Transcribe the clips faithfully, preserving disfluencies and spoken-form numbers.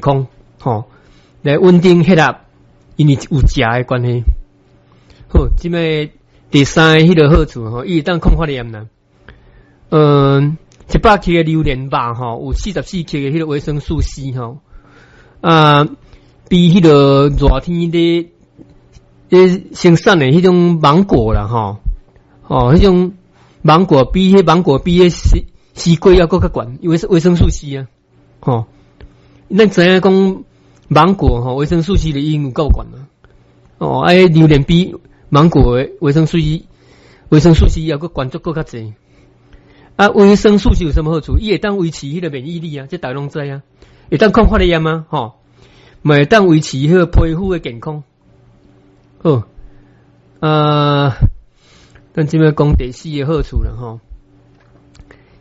康，吼，來穩定血壓，因為有鉀的關係。好，這擺第三个彼个好處吼，伊會當抗發炎啦。嗯，一百克的榴蓮肉吼，有四十四克的彼个維生素 C 吼，啊，比彼个熱天咧咧生產的彼種芒果啦吼，哦，彼種芒果比彼芒果比彼西西瓜猶閣較懸，因為是維生素 C 啊，吼，咱知影講芒果吼，維生素 C 就已經有夠懸啦，哦，啊，榴蓮比芒果的維生素 C，維生素 C 猶閣懸足閣較濟。啊，維生素 C 有啥物好處？伊會當維持彼个免疫力啊，這大家攏知啊。會當抗發炎啊，吼，嘛會當維持彼个皮膚的健康。好，啊，咱這擺講第四个好處啦，吼，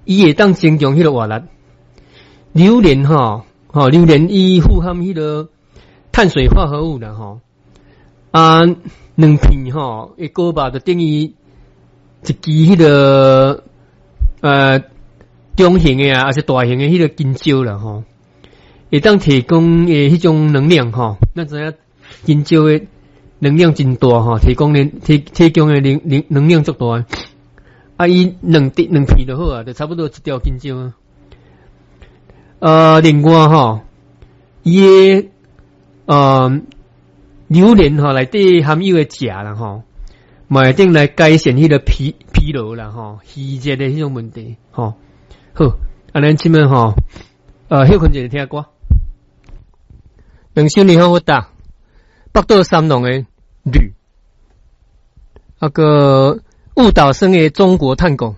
伊會當增強彼个活力。榴蓮吼，吼，榴蓮伊富含彼个碳水化合物啦，吼，啊，兩片吼，的果肉就等於一支彼个。呃，中型的啊，抑是大型的彼个香蕉啦，吼，會當提供的彼種能量吼，咱知影香蕉的能量真大吼，提供的提提供的能能能量足大。啊，伊兩滴兩片就好啊，就差不多一條香蕉啊。呃，另外吼，伊的呃榴蓮吼內底含有的鉀啦吼，嘛會當來改善彼个疲疲勞啦吼，虛熱的彼種問題吼。好，啊，咱這擺吼，呃，歇睏一下聽歌。兩首你好，我打北島三郎的呂，啊閣霧島生的中國探戈。